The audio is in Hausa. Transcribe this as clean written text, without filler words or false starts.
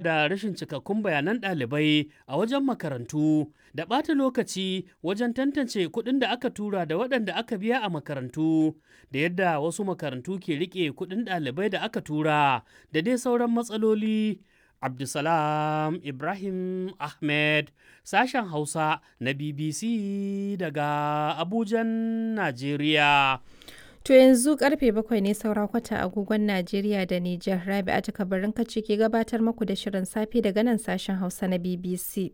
Da rashin cikakkun bayanan ɗalibai a wajen makarantu da ɓata lokaci wajen tantance kuɗin da aka tura da waɗanda aka biya a makarantu da yadda wasu makarantu ke riƙe kuɗin ɗalibai da aka tura da dai sauran matsaloli. Abdulsalam Ibrahim Ahmed, sashen Hausa na BBC daga Abujan, Najeriya. To yanzu karfe 7 ne saura kwata agogon Najeriya da Nijar. Rabi'atu Kabarin ce ke gabatar muku da shirin safe daga nan sashen Hausa na BBC.